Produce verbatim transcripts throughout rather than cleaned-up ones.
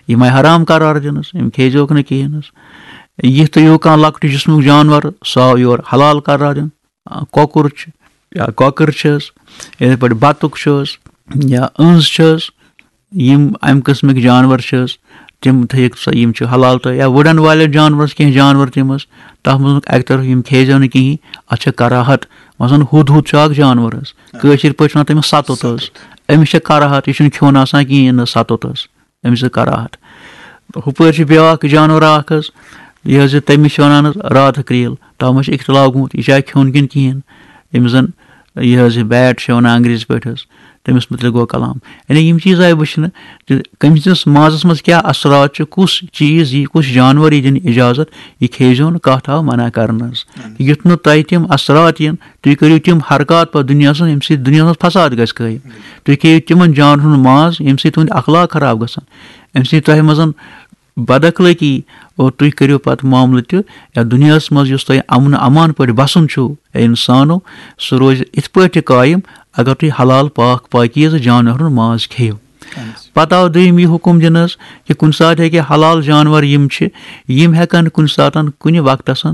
یِم آیہِ حرام قرار دِنَس، یِم کھیزیوکھ نہٕ کِہیٖنۍ حظ۔ یِتھ تہٕ یِہُو کانٛہہ لۄکٹُے جسمُک جانور، سُہ آو یور حلال قرار دِنہٕ۔ آ، کۄکُر چھُ یا کۄکٕر چھِ حظ، یِتھَے پٲٹھۍ بَطُخ چھُ حظ، یا أنٛز چھِ حظ، یِم اَمہِ قٕسمٕکۍ جانور چھِ حظ، تِم تھٲیِکھ سا، یِم چھِ حلال تہٕ یا وُڑَن والٮ۪ن جانورَس کینٛہہ جانور تِم حظ، تَتھ منٛز اَکہِ طرفہٕ یِم کھیزیو نہٕ کِہیٖنۍ، اَتھ چھےٚ کراہت۔ مثلاً ہُد ہُد چھُ اَکھ جانور حظ، کٲشِر پٲٹھۍ چھِ وَنان تٔمِس سَتُت حظ۔ أمِس چھےٚ کراہت، یہِ چھُنہٕ کھیوٚن آسان کِہیٖنۍ نہٕ سَتُت حظ۔ أمِس چھِ کراہت۔ ہُپٲرۍ چھِ بیٛاکھ جانور اَکھ حظ، یہِ حظ یہِ تٔمِس چھِ وَنان حظ راتہٕ کرٛیٖل، تَتھ منٛز چھِ اختلاف گوٚمُت، یہِ چھا کھیوٚن کِنہٕ کِہیٖنۍ۔ أمِس زَن یہِ حظ یہِ بیٹ چھِ وَنان انگریزی پٲٹھۍ حظ، تٔمِس مُتعلِق گوٚو کلام۔ یعنی یِم چیٖز آیہِ وٕچھنہٕ، تہٕ کٔمۍ سٕنٛدِس مازَس منٛز کیٛاہ اثرات چھِ، کُس چیٖز یی، کُس جانوَر یی دِنہٕ اِجازت، یہِ کھیزیو نہٕ، کَتھ آو منع کرنہٕ حظ۔ یُتھ نہٕ تۄہہِ تِم اثرات یِن، تُہۍ کٔرِو تِم حرکات پَتہٕ دُنیاہَس منٛز، ییٚمہِ سۭتۍ دُنیاہَس منٛز فساد گژھِ قٲیِم۔ تُہۍ کھیٚیِو تِمَن جانوَرَن ہُنٛد ماز، ییٚمہِ سۭتۍ تُہُنٛد اخلاق خراب گژھن، ییٚمہِ سۭتۍ تۄہہِ منٛز بد اخلٲقی، اور تُہۍ کٔرِو پَتہٕ معاملہٕ تہِ، یا دُنیاہَس منٛز یُس تۄہہِ امن امان پٲٹھۍ بَسُن چھُو، اے اِنسانو، سُہ روزِ اِتھ پٲٹھۍ تہِ قٲیِم، اگر تُہۍ حلال پاک پاکیٖزٕ جانوَرَن ہُنٛد ماز کھیٚیِو۔ پَتہٕ آو دوٚیِم یہِ حُکُم دِنہٕ حظ کہِ کُنہِ ساتہٕ ہیٚکہِ حلال جانوَر یِم چھِ، یِم ہٮ۪کَن کُنہِ ساتَن کُنہِ وقتَس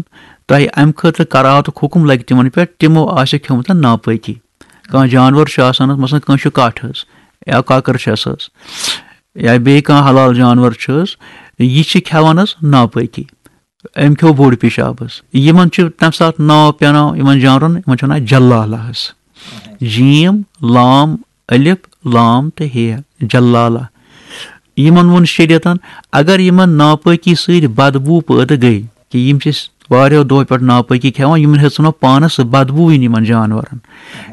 تۄہہِ اَمہِ خٲطرٕ کراہتُک حُکُم لَگہِ تِمَن پٮ۪ٹھ، تِمو آسہِ کھیوٚمُت ناپٲکی۔ کانٛہہ جانوَر چھُ آسان حظ، مثلاً کٲنٛسہِ چھُ کَٹھ حظ، یا کۄکٕر چھَس حظ، یا بیٚیہِ کانٛہہ حلال جانوَر چھُ حظ، یہِ چھِ کھٮ۪وان حظ ناپٲکی۔ أمۍ کھیوٚو بوٚڑ پیشاب حظ۔ یِمَن چھُ تَمہِ ساتہٕ ناو پیٛاناو یِمَن جانوَرَن، یِمَن چھِ وَنان جلالہ حظ۔ جیم، لام، الف، لام تہٕ ہے، جلالہ۔ یِمَن ووٚن شریعتَن، اگر یِمَن ناپٲکی سۭتۍ بدبو پٲدٕ گٔے، کہِ یِم چھِ واریاہو دۄہو پٮ۪ٹھ ناپٲکی کھٮ۪وان، یِمَن ہیٚژ نہٕ پانَس بدبوٕے یِمَن جانوَرَن۔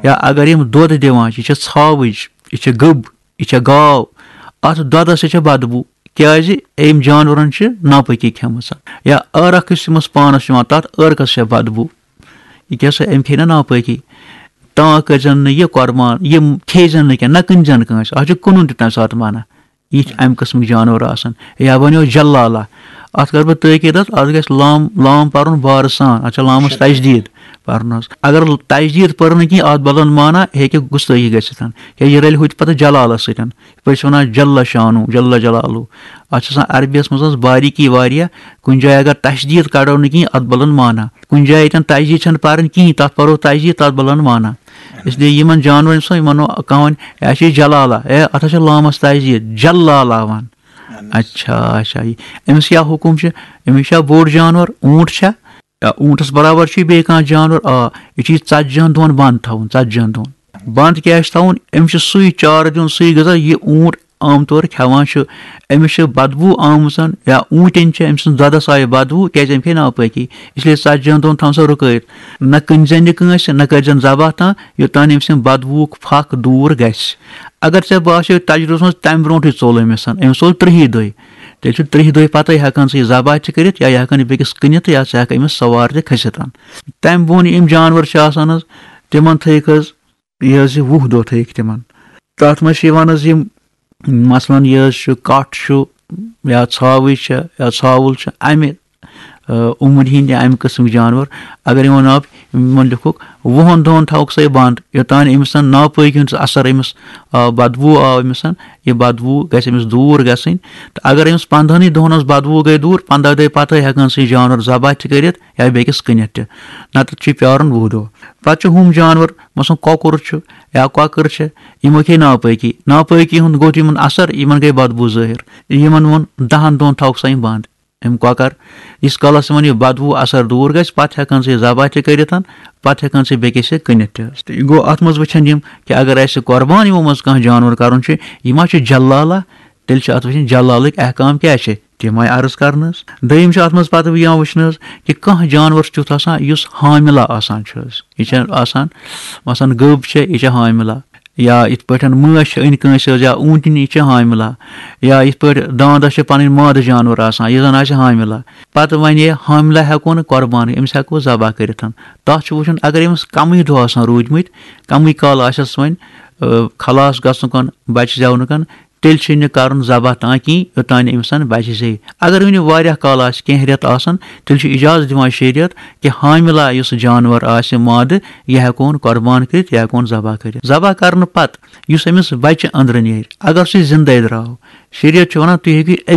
یا اگر یِم دۄد دِوان چھِ، یہِ چھےٚ ژھاوٕج، یہِ چھےٚ گٔب، یہِ چھےٚ گاو، اَتھ دۄدَس چھےٚ بدبو۔ کیٛازِ؟ أمۍ جانوَرَن چھِ ناپٲکی کھٮ۪مٕژ۔ یا عٲرَق یُس یِمَس پانَس چھُ یِوان، تَتھ عٲرقَس چھےٚ بدبو۔ یہِ کیٛاہ سا، أمۍ کھیٚیہِ نا ناپٲکی؟ تاں کٔرۍزٮ۪ن نہٕ یہِ قۄربان، یہِ کھیٚیہِ زٮ۪ن نہٕ کینٛہہ، نہ کٕنۍ زٮ۪ن کٲنٛسہِ۔ اَتھ چھُ کٕنُن تہِ تَمہِ ساتہٕ منع۔ یِتھۍ اَمہِ قٕسمٕکۍ جانوَر آسَن۔ یا بَنیو جلالہ۔ اَتھ کَرٕ بہٕ تٲکیٖد حظ، اَتھ گژھِ لام، لام پَرُن بارٕ سان۔ اَتھ چھےٚ لامَس تجدیٖد پَرُن حظ۔ اگر تجدیٖد پٔر نہٕ کینٛہہ، اَتھ بدلَن معنہ، ہیٚکہِ گُستٲخی گٔژھِتھ۔ یا یہِ رَلہِ ہُتہِ پَتہٕ جلالَس سۭتۍ۔ یِتھ پٲٹھۍ چھِ وَنان جل شانو، جل جلالو۔ اَتھ چھِ آسان عربیَس منٛز حظ باریٖکی واریاہ۔ کُنہِ جایہِ اگر تشدیٖد کَڑو نہٕ کِہیٖنۍ، اَتھ بَلَن معنہ۔ کُنہِ جایہِ ییٚتٮ۪ن تجدیٖد چھَنہٕ پَرٕنۍ کِہیٖنۍ، تَتھ پَرو تجدیٖد، تَتھ بَلَن معنہ۔ اس لیے یِمَن جانوَرَن چھُ آسان، یِمَن وَنو کانٛہہ وَنہِ، "اے، اَسہِ چھِ جلالہ، اے، اَتھ ہا چھِ لامَس تجدیٖد، جلالہ وَن۔" اچھا، اچھا، یہِ أمِس کیٛاہ حُکُم چھُ؟ أمِس چھا بوٚڑ جانوَر، اوٗنٛٹ چھا؟ یا اوٗنٛٹَس برابر چھُ یہِ بیٚیہِ کانٛہہ جانوَر؟ آ، یہِ چھُ یہِ ژَتجِہَن دۄہَن بنٛد تھاوُن، ژَتجِہَن دۄہَن۔ بنٛد کیٛازِ چھُ تھاوُن؟ أمِس چھُ سُے چارٕ دیُن، سُے غذا، یہِ اوٗنٛٹ عام طور کھٮ۪وان چھُ۔ أمِس چھِ بدبوٗ آمٕژ، یا اوٗنٛٹٮ۪ن چھِ أمۍ سٕنٛز دۄدَس آیہِ بدبوٗ، کیٛازِ أمۍ کھے ناپٲکی۔ اس لیے ژَتجِہَن دۄہَن تھاوُن سا رُکٲیِتھ۔ نہ کٕنۍ زٮ۪ن یہِ کٲنٛسہِ، نہ کٔرۍ زٮ۪ن ذبح تام، یوٚتام أمۍ سٕنٛدِ بدبوٗک پھکھ دوٗر گژھِ۔ اگر ژےٚ باسیو تجرُبَس منٛز تَمہِ برونٛٹھٕے ژوٚل أمِس، أمِس ژوٚل تٕرٛہی دۄہہِ، تیٚلہِ چھُ ترٛہہِ دۄہہِ پَتَے ہٮ۪کان ژٕ یہِ ذبح تہِ کٔرِتھ، یا یہِ ہٮ۪کان یہِ بیٚکِس کٕنِتھ، یا ژٕ ہٮ۪کھ أمِس سوار تہِ کھٔسِتھ۔ تَمہِ بۄن یِم جانوَر چھِ آسان حظ، تِمَن تھٲیِکھ حظ یہِ حظ یہِ وُہ دۄہ تھٲیِکھ تِمَن۔ تَتھ منٛز چھِ یِوان حظ یِم، مثلاً یہِ حظ چھُ کَٹھ چھُ یا ژھاوٕج چھےٚ یا ژھاوُل چھُ، اَمہِ، آ، عُمرِ ہِنٛدۍ یا اَمہِ قٕسمٕکۍ جانوَر، اگر یِمَن آو، یِمَن لیوٚکھُکھ وُہَن دۄہَن تھاوُکھ سا یہِ بنٛد، یوٚتام أمِس زَن ناپٲکی ہُنٛد اثر أمِس آو، بدبوٗ آو أمِس، یہِ بدبوٗ گژھِ أمِس دوٗر گژھٕنۍ۔ تہٕ اگر أمِس پنٛدہَنٕے دۄہَن ہٕنٛز بدبوٗ گٔے دوٗر، پنٛداہ دۄہہِ پَتَے ہٮ۪کَن سُہ یہِ جانوَر ذبح تہِ کٔرِتھ یا بیٚکِس کٕنِتھ تہِ، نَتہٕ چھُ پیٛارُن وُہ دۄہ۔ پَتہٕ چھُ ہُم جانوَر، مثلاً کۄکُر چھُ یا کۄکٕر چھِ، یِمو کھے ناپٲکی، ناپٲکی ہُنٛد گوٚو یِمَن اثر، یِمَن گٔے بدبوٗ ظٲہِر۔ یِمَن ووٚن دَہَن دۄہَن تھاوُکھ سا یِم بنٛد۔ یِم کۄکَر، ییٖتِس کالَس یِمَن یہِ بدبوٗ اثر دوٗر گژھِ، پَتہٕ ہٮ۪کَن سُہ یہِ ذبح تہِ کٔرِتھ، پَتہٕ ہٮ۪کَن سُہ یہِ بیٚکِس یہِ کٕنِتھ تہِ حظ۔ تہٕ یہِ گوٚو اَتھ منٛز وٕچھان یِم کہِ اگر اَسہِ قۄربان یِمو منٛز کانٛہہ جانوَر کَرُن چھُ، یہِ ما چھُ جلالہ؟ تیٚلہِ چھِ اَتھ وٕچھِنۍ جلالٕکۍ احکام کیٛاہ چھِ، تِم آیہِ عرض کَرنہٕ حظ۔ دوٚیِم چھُ اَتھ منٛز پَتہٕ یِوان وٕچھنہٕ حظ کہِ کانٛہہ جانوَر چھُ تیُتھ آسان یُس حاملہ آسان چھُ حظ۔ یہِ چھےٚ آسان، مثلاً گٔب چھےٚ، یہِ چھےٚ حاملہ۔ یا یِتھ پٲٹھۍ مٲنٛچھ چھِ أنۍ کٲنٛسہِ حظ، یا اوٗنٛٹنی چھِ حاملہ، یا یِتھ پٲٹھۍ دانٛدَس چھِ پَنٕنۍ مادٕ جانوَر آسان، یہِ زَن آسہِ حاملہ۔ پَتہٕ وَنہِ یہِ حاملہ ہٮ۪کو نہٕ قۄربان، أمِس ہٮ۪کو ذبح کٔرِتھ۔ تَتھ چھُ وٕچھُن، اگر أمِس کَمٕے دۄہ آسان روٗدۍمٕتۍ، کَمٕے کال آسٮ۪س وۄنۍ، آ، خلاص گژھنُکَن، بَچہِ زٮ۪ونُکَن، تیٚلہِ چھُنہٕ کَرُن ذبح تام کِہیٖنۍ، یوٚتام نہٕ أمِس بَچہِ زیٚیہِ۔ اگر وٕنہِ واریاہ کال آسہِ، کینٛہہ رٮ۪تھ آسَن، تیٚلہِ چھُ اِجازت دِوان شریعت کہِ حاملہ یُس جانوَر آسہِ مادٕ، یہِ ہٮ۪کون قۄربان کٔرِتھ، یہِ ہٮ۪کون ذبح کٔرِتھ۔ ذبح کَرنہٕ پَتہٕ یُس أمِس بَچہِ أنٛدرٕ نیرِ، اگر سُہ زِندَے درٛاو، شریعت چھُ وَنان، تُہۍ ہیٚکِو أمِس